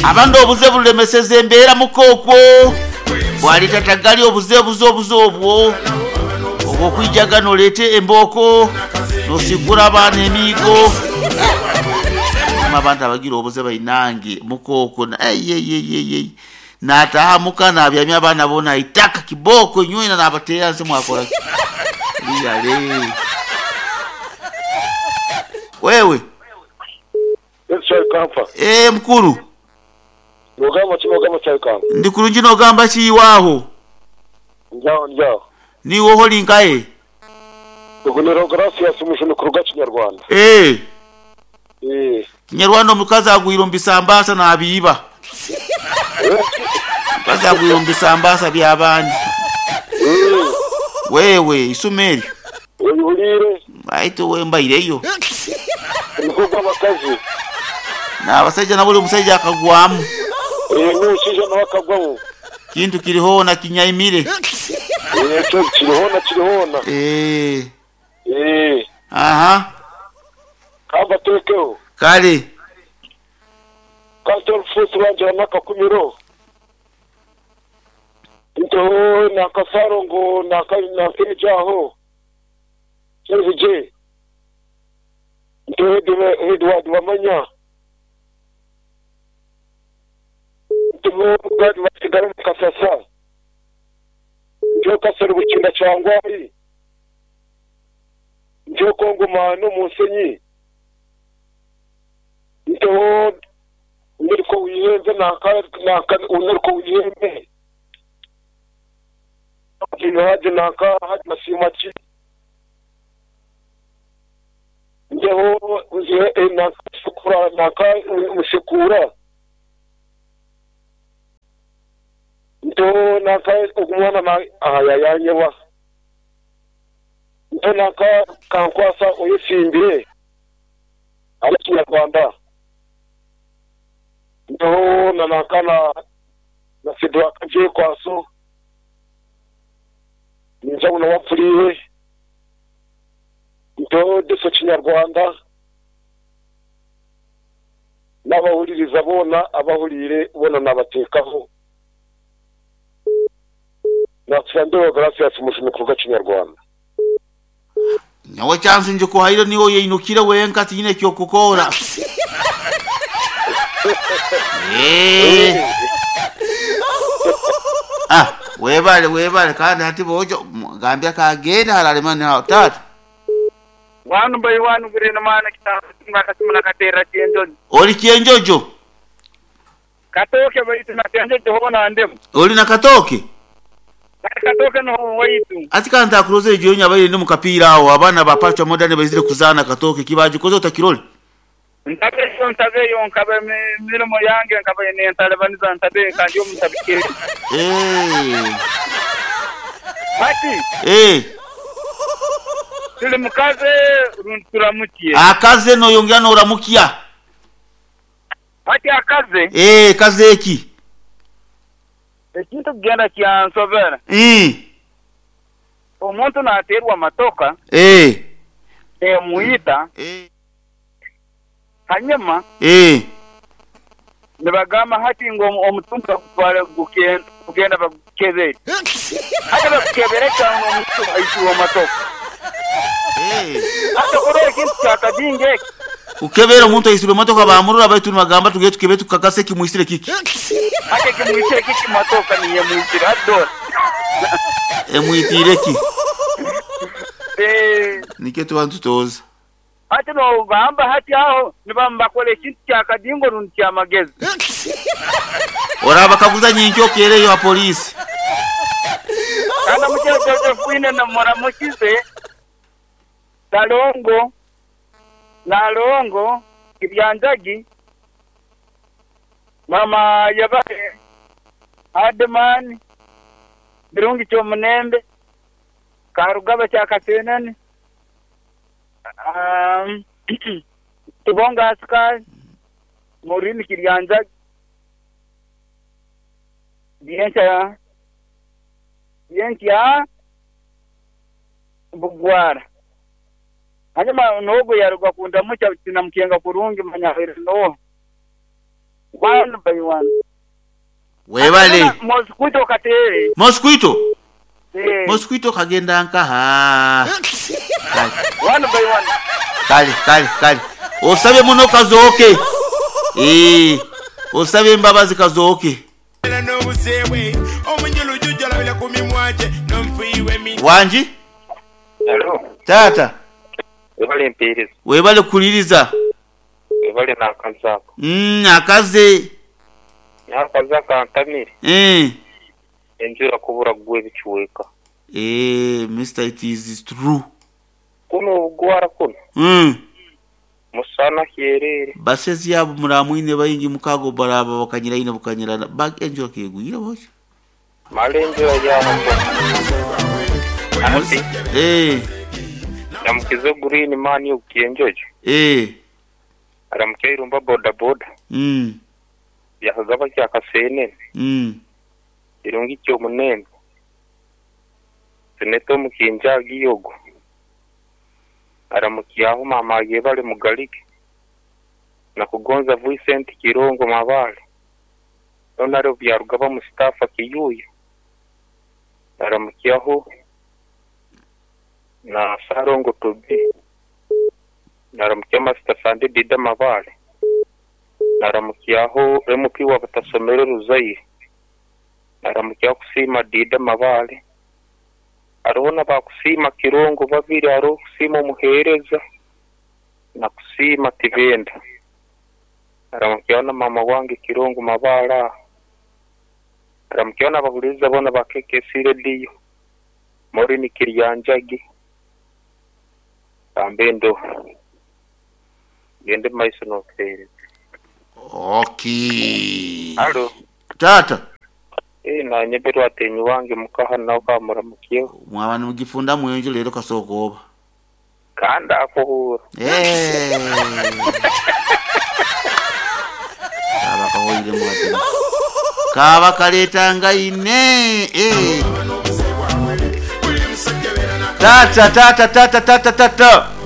Abandi obuze bulemeseza embeera muka okwo bwaleeta tagali obuze buze obuze obwo obw'okwijaga noleeta embooko nosigura abaana emiigo. Hanyuma abantu abagira obuze bainange muka okwo eyeyeyeye nataaha muka nabyamya abaana boona aitaka kibooko inywena nabateera nsi mwakora ki? Liyale wewe. Yes Kyalikampa. Eeh mukulu. Nogamba ki nogamba Kyalikampa? Ndi kulungi nogamba ki iwe aho? Ndi aho ndi aho. Niiwe oho ori nkahe? Ogu ni Rogarasius Mujuni kuruga Kinyarwanda. Eeh. Eeh. Kinyarwanda omukazi agwire omu bisambaasa nabiiba. Omukazi agwire omu bisambaasa by'abandi. Eeh. Wewe eisumo eryo. Oihuriire? Baitu we mbaireyo. Nigwo gw'abakazi. N'abasaija nabo buri musaija akagwamu. Ee, n'omushaija nawe akagwamu. Kintu kiri hoona kinyaimire. Ee, ekyo kiri hoona kiri hoona. Ee. Ee. Aha. Ka mbateekeho. Kale. Ka nte orufuuzi rwangye n'akakumiro. Nteho n'akasaaro ngu n'akeegye aho. Kyebugye, Nteho Edward Bamanya, nteho Gad Basigara omu Kasasa, nteho Kasero Bukinda Kyangwali, nteho Kongo Maani omu Nsenyi, nteho Neriko Wihembe nanka Neriko Wihembe, Haji nanka Haji Basiimaki. Ndeho nanka Musekura. Nteho nanka ogu mwana aha yayanyebwa. Nteho nanka Kankwasa Oyetsimbire ari Kinyarwanda. Nteho na nanka na Sidwaka Byekwaso. Ningira ngu nawe apfuriire. Nteho Deso Kinyarwanda n'abahuririza boona abahuriire boona naabateekaho. Naakira Ndeeba Gracias Mujuni kuruga Kinyarwanda. Nyowe chansi ngikuhaire niiwe oyeinukire wenka tinyine ky'okukora. Eeh. Ah, webale webale kandi hati boojo gambia kagende hararema ni taata. Wanu by wanu gurino maana kitambo akasimu nakaterera kyenjojo. Oli kyenjojo? Katooke baitu na kyenjojo hoona ndemu. Oli na katooke? Kati katooke noho waitu. Ati ka ntakurozire ejo nyabaire ndi mu kapiira aho abaana ba Pacho Modern baizire kuzaana katooke kibagikoze otakirore? Ntabeyo ntabeyo nkaba emirimo yange nkaba nentalibaniza ntabeyo nka ndi omu ntabikere. Eeh. Hati. Eeh. Tuli mukaze rundi turamukye? Akaze noyongera noramukya. Hati akaze. Eeh kaze ki? Ekintu kugenda kyansobera. Ii. Omuntu nateerwa matoka. Eeh. Emwita. Eeh. Hanyuma. Eeh. Nibagamba hati ngu omutumbi bagutware kugenda bagukebere. Hati bakukebera ki aho n'omuntu aisirwe matoka? Eeh. Hati okurora ekintu kya kadingo eki. Kukebera omuntu aisirwe motoka bamurora baitu nibagamba tugende tukebere tukakase ekimwisire kiki. Hati ekimwisire kiki matoka niyo emwisire hati dora. Emwitiire ki? Eeh. Nikyo tuba nitutooza. Hati nogamba hati aho nibaba nibakora ekintu kya kadingo rundi ky'amagezi. Orabakaguza nyenkya okeereyo ha poliisi. Kandi omukyere Josephine muramukize, Ssalongo, Nalongo, Kibyanjagi, Maama Yebare, Hardman, Birungi Kyomunembe, Karugaba Kyakasenene, Tubonga Asikari, Maureen Kiryanjagi, Byenkya Byenkya Bugwara. Hanyuma n'ogwo yaruga kundamukya tinamukenga kurungi manya abaire n'oha. One by one. Webale. Mosquito kateere. Mosquito? Eh. Mosquito kagenda nkaha? Kale. One by one. Kale, kale, kale. Osabe muno kazooke. Eeh, osabe embabazi kazooke. Wangi? Halo. Taata. Webale mpeereza. Webale kuwuliriza. Webale n'akazi ako. Umm akaze. N'akazi akantamire. Eeh. Enjura kubura kugwa ebicweka. Eeh Mister it is true. Kunu obugwara kunu. Umm. Musana hyereere. Basezi abo muramwine baingi mukago baraba bakanyira inho bukanyirana ba enjura kegwire bwotyo. Male enjura yaagwa. Hati Eeh. ndamukize Green Man ogu Kyenjojo. Eeh. Aramukye Irumba bodaboda. Umm. Byakagaba kya Kaseenene. Umm. Kirungi ky'omunembe. Seneta omukinjagi ogwo. Aramukyaho maama Ayebare Mugalike. Nakugonza Vincent Kirongo Mabale. Honourable Byarugaba Mustafa Kiyuuya. Aramukyaho na Ssalongo Tobi. Naramukya Master Sande Dida Mabale. Naramukyaho MP wa Butasomere Ruzaire. Naramukyaho Kusiima Dida Mabale. Hariho na ba Kusiima Kirongo babiri, hariho Kusiima Omuheereza na Kusiima Tibenda. Naramukyaho na maama wange Kirongo Mabale aho. Naramukyaho n'abahuriiriza boona ba KKC Radio, Maureen Kiryanjagi, Kambe ndoho. Gyenda omu maiso n'otuheereza. Okay. Halo. Taata. Eeh nanye Berwatenyi wange mukaha nawe kamuramukyeho. Mwaba nimugifunda mwenjo leero kasooka oba. Kandi akuhuura. Eeh. Kaaba kahoiremu atyo. Kaaba kaleetanga ine. Eeh. Taata taata taata taata taata.